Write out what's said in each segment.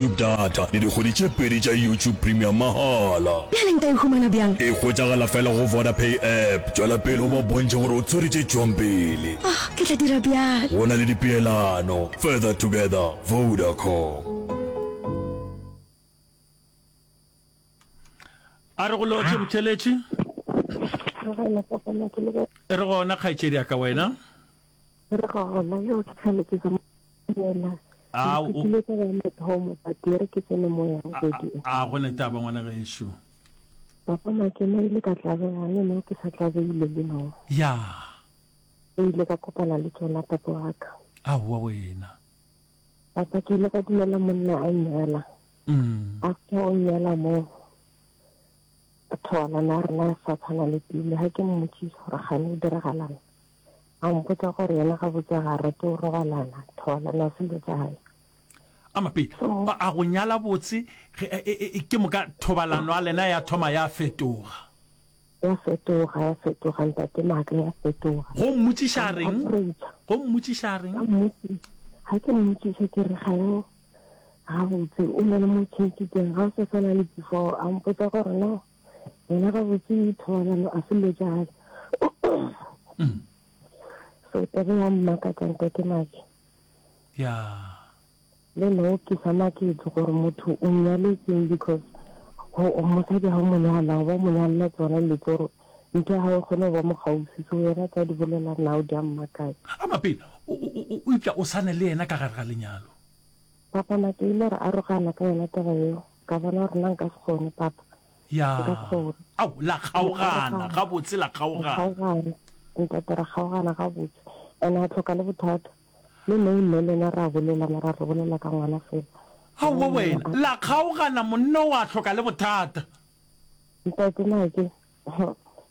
YouTube data le dikgwedi tše pedi tša YouTube Premium mahala. Bjale nka e humana bjang? E hwetšagala fela go Vodapay app. Tšwela pele o ba bontšhe gore o tshwere tše tšwang pele. Oh, ke tla dira bjalo. Go na le dipeelano. Further together, Vodacom. A re go lotšhe botheletši. Re gona kgaetšedi ya ka wena. Re gona yo ke tshwanetse ke yena. A o ke taba ya mathomo but e re ke tsene mo ya bobedi. A go ne taba ngwana gešo. Papa Makena ile ka tlabega le nna ke sa tlabegile le no. Ya. O ile ka kopana le tsona papa wa ka. Aowa wena. Papa ke ile ka dumela monna a nnyala. Mm. After o nnyala mo thobalano ya rena ya sa tshwana le pele ga ke mmotsisa gore gane o diragalang. A mpotša gore yena gabotse ga a rate go robalana, thobalano ya selo tša gae. A mapele, So, a go nyala botse, ge, e, e, e, ke moka thobalano ya lena ya thoma ya fetoga. Ya fetoga, ya fetoga, ntate Maaka, ya fetoga. Go mmotšiša A a reng? approacha. Go mmotšiša a reng? Ka mmotšiša. Ga ke mmotšiša ke re gane gabotse o na le mo tšhentšhitseng, ga o sa swana le before. A mpotša gore no, Yena gabotse thobalano a se lo tša Mm. So taba ya mmakatša ntate Maki. Ya. Le nna o ke sa maketse gore motho o nyaletseng because go mosadi ga o mo nyala o ba mo nyalela tsona le tsoro ntho ya gago e kgone go ba mo gaufi so yena tsa di bolela now di a mmakatša. A mapele o o o eupša o sane le yena ka gare ga lenyalo. Papa Maki ile re arogana ka yona taba yeo. Ka bona gore nna nka se kgone, papa. Ya. Nka se kgone. Ao, la kgaogana, gabotse la kgaogana. Ra kgaogana, ntate, ra kgaogana gabotse. And a hloka le bothata. Le nna mme le ena ra bolela, mara re bolela ka ngwana fela. Aowa wena, la kgaogana, monna o a hloka le bothata. Ntate, na ke.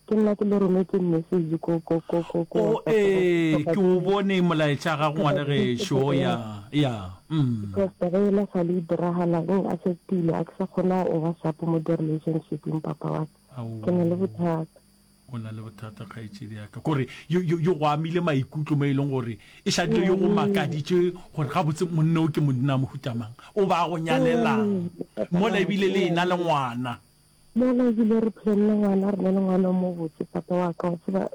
Ke nna ke le rometseng message ko ko ko ko ko O ee, ke o bone molaetša gago ngwana gešo ya ya. Mm. Because taba ela sa le diragala eng affectile a ke sa kgona o ba sharp mo di relationshipeng papa wa ka. Ke na le bothata. O na le bothata kgaetšedi ya ka. Kore yo yo yo go amile maikutlo mo e leng gore e šadile yo go makaditše gore gabotse monna o ke monna mohuta mang. O ba go nyalelang mola ebile le ena le ngwana. Mola ebile re planne ngwana, re na le ngwana o mobotse, papa wa ka, wa tseba,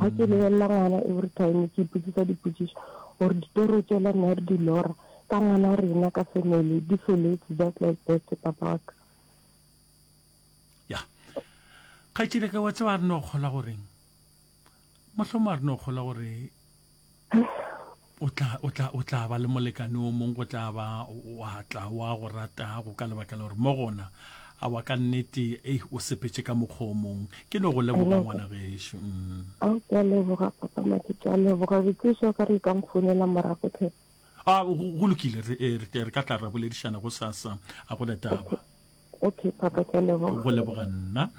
ga ke lebelela ngwana every time ke ipotsisa dipotšišo gore ditoro tšela nna re di lora ka ngwana rena ka family di feletse just like that, papa wa ka. Ya. Kgaetšedi ka wa tseba a re no kgolwa goreng? Mohlomong a re no kgolwa gore o tla o tla o tla ba le molekane o mong go tla ba wa tla wa go ratago ka lebaka la gore mo gona a wa ka nnete ei o sepetše ka mokgwa o mong ke no go leboga ngwana gešo mm. Ao ke a leboga papa Maki ke a leboga botšišo ka re ka mfounela morago tlhe. A go lokile re eh, re ka tla ra boledišana go sasa a go ne taba. Okay papa ke a leboga. Go leboga nna.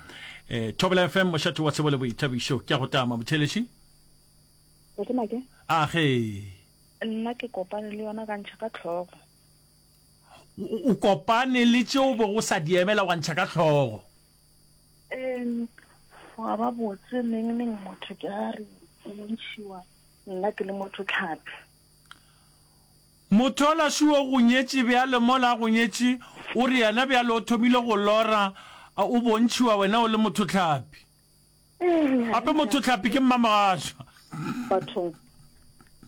Eh Thobela FM mošate wa tsebo le boithabišo ke a go tama motheletši. Ntate Make? A ge. Nna ke kopane le yona ka ntšha ka hlogo. O kopane le tše o bego o sa di emela wa ntšha ka hlogo? Ee, gwa ba botse neng neng motho ke a re o ntšhiwa nna ke le motho tlhapi. Motho ola šo o go nyetše bjale mola a go nyetše o re yena bjale o thomile go lora o bontšhiwa wena o le motho tlhapi. Gape motho tlhapi ke mmamogašwa. Bathong.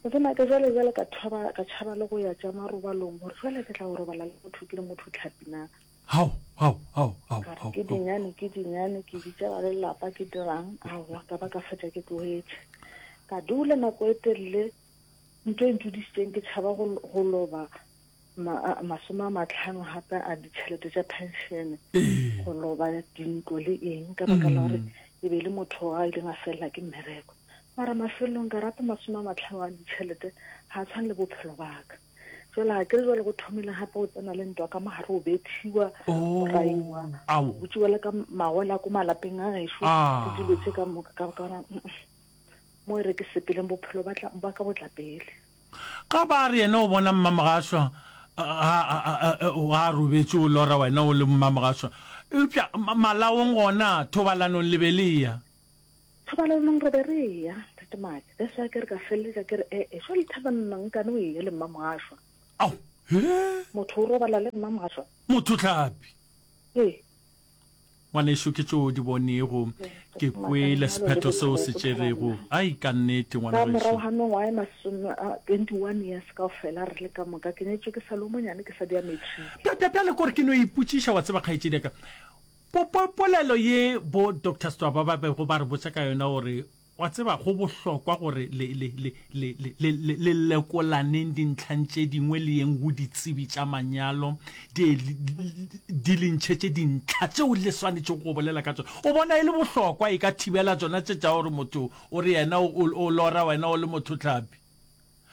Ke nna ke jwale jwale ka thoba ka tšhaba le go ya tša marobalong gore jwale ke tla go robala le motho ke le motho tlhapi na. Hao, hao, hao, hao, Ka re hao, ke hao. dinyane ke dinyane ke bitša ba lelapa ke dirang aowa ka ba ka fetša ke tlogetše. Ka dula nako e telele ntho e ntudišitšeng ke tšhaba go go loba masome a matlhano gape a ditšhelete tša penšene go loba dintlo le eng ka baka la gore mm. e be e le motho a ileng a felela ke mmereko mara mafelelong ka rata masome a matlhano a ditšhelete ga a tshwane le bophelo baka jale ga ke re jale go thomile gape go tsena le ntwa ka mogare o bethiwa o raiwa o tšiwa le ka magola ko malapeng a gešo le dilo tse ka moka ka bona mo e re ke sepeleng bophelo ba ka botla pele Ga ba re yena o bona mmamogašwa ga a robetše o lora wena o le mmamogašwa. Eupša malaong gona thobalanong le be le eya? Thobalanong re be re eya, Ntate Maki. That's why ke re ka feleletša ke re ee, jwale thabanna nkane o eya le mmamogašwa. Ao! He? Motho o robala le nna mogašwa. Motho hlapi. Ee. Ngwanešu, ke tšeo o di bonego. Ke kwele sephetho seo se tšerego. Ai, ka nnete, Ka ngwanagešo. morago ga mengwaga e masome a 21 years kaofela re le ka moka, ke nyetšwe ke sa le o monyane ke sa di ya matric. Bja, bja, bjale kore ke no ipotšiša, wa tseba, kgaetšedi ya ka, po, po, polelo ye bo Doctor Stwaba ba bego ba re botša ka yona gore Wa tseba, go bohlokwa gore le, le, le, le, le, le, le, le lekolaneng dintlhang tše dingwe le yeng go ditsebi tša manyalo, di, di le ntšhetše dintlha tšeo le swanetšego go bolela ka tšona. O bona e le bohlokwa, e ka thibela tšona tše tša gore motho o re yena o, o, o lora wena o le mothohlapi.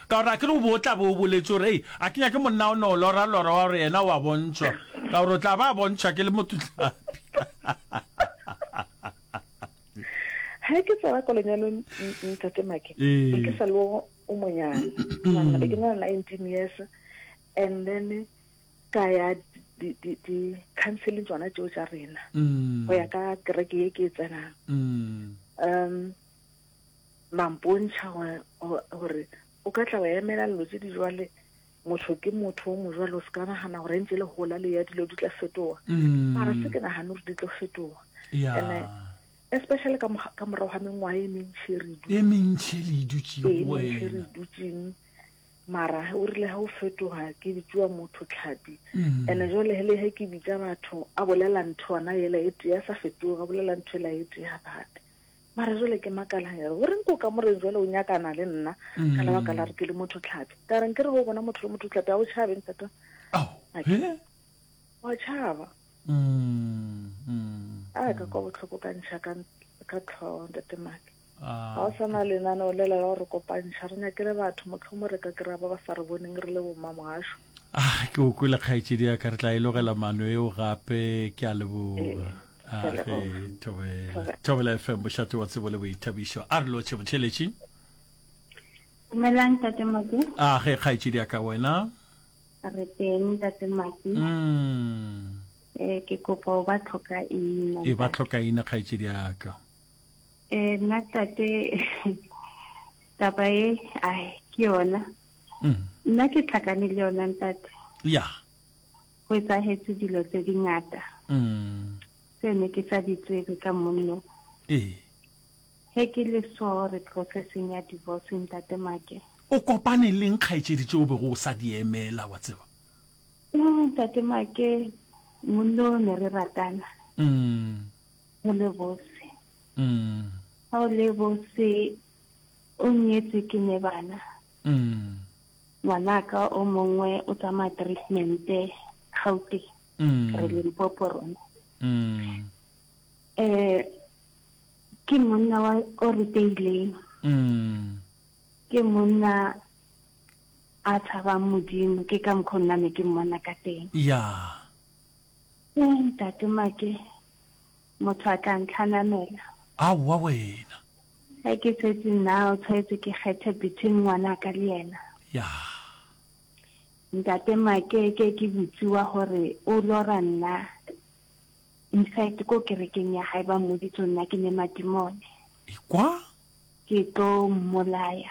Ka gore akere o be o tla be o boletše gore, Hei, a ke nyake monna o no lora lora wa gore yena o a bontšhwa, ka gore o tla ba a bontšhwa ke le mothohlapi. Ge ke tsena ko lenyalong ntate Make, be ke sa le o monyane. Nagana be ke na le 19 years and then ka ya di di di counseling tsona tšeo tša rena go ya ka kereke ye ke e tsenang. Um ba mpontšha gore o ka tla wa emela dilo tše di jwale motho ke motho o mojwalo o se ka nagana gore ntse le gola le ya dilo di tla fetoga mm. mara se ke nagane gore di tlo fetoga and especially ka ka morago ga mengwaga e mentši re e mentši le dutseng re dutseng mara o rile ga o fetoga ke bitsiwa motho tlhapi mm. and jale hele he ke bitsa batho a bolela ntho ona ela e tee a sa fetoga a bolela ntho ela e tee gape Mara jwale ke makala ya re, Goreng ko kamoreng jwale o nyakana le nna ka lebaka la re ke le motho tlhapi? Ka re nke re go bona motho le motho tlhapi a o tšhabe ntate. Ao, he? Wa tšhaba. A ka kwa bohloko ka ntšha ka ka tlhogo ntate Make. Ga o sa na lenaneo lela la go re kopantšha re nyakele batho mohlomong re ka kry-a ba ba sa re boneng re le bomma mogašo. Ah, ke o kwele kgaetšedi ya ka re tla e logela mano eo gape ke a leboga. A ge thobela. Thobela FM bošate wa tsebo le boithabišo. A re lotšhe botšheletši. Dumelang Ntate Maki. A ge kgaetšedi ya ka wena. Re teng Ntate Maki. Mm. Eh ke kopa o ba tlhoka ina. E ba tlhoka ina kgaetšedi ya ka. Eh nna tate taba e ai ke yona. Mm. Nna ke tlhakane le yona ntate. Ya. Go etsahetse dilo tse di ngata. Mm. Tse ne ke sa di tsebe ka monno. Ee. He ke le so re processing ya divorce ntate Make. O kopane leng kgaetšedi tše o bego o sa di emela wa tseba? No ntate Make monno ne re ratana. Mm. Go le bose. Mm. Ga o le bose o nyetse ke ne bana. Mm. Ngwanaka o mongwe o tsamaya treatment Gauteng. Mm. Re Limpopo rona. Mm. Eh ke monna wa o ruteileng. Mm. Ke monna a tshabang Modimo ke ka mokgwa nna ne ke mmona ka teng. Ya. Eh ntate Make motho a tla ntlhanamela. Aowa wena. Ge ke tswetse nna o tshwanetse ke kgethe between ngwanaka le yena. Ya. Ntate Makeke ke botsiwa gore o lora nna in fact ko kerekeng ya hae ba mmoditse nna ke ne madimone. Ekwa? Ke tlo mmolaya.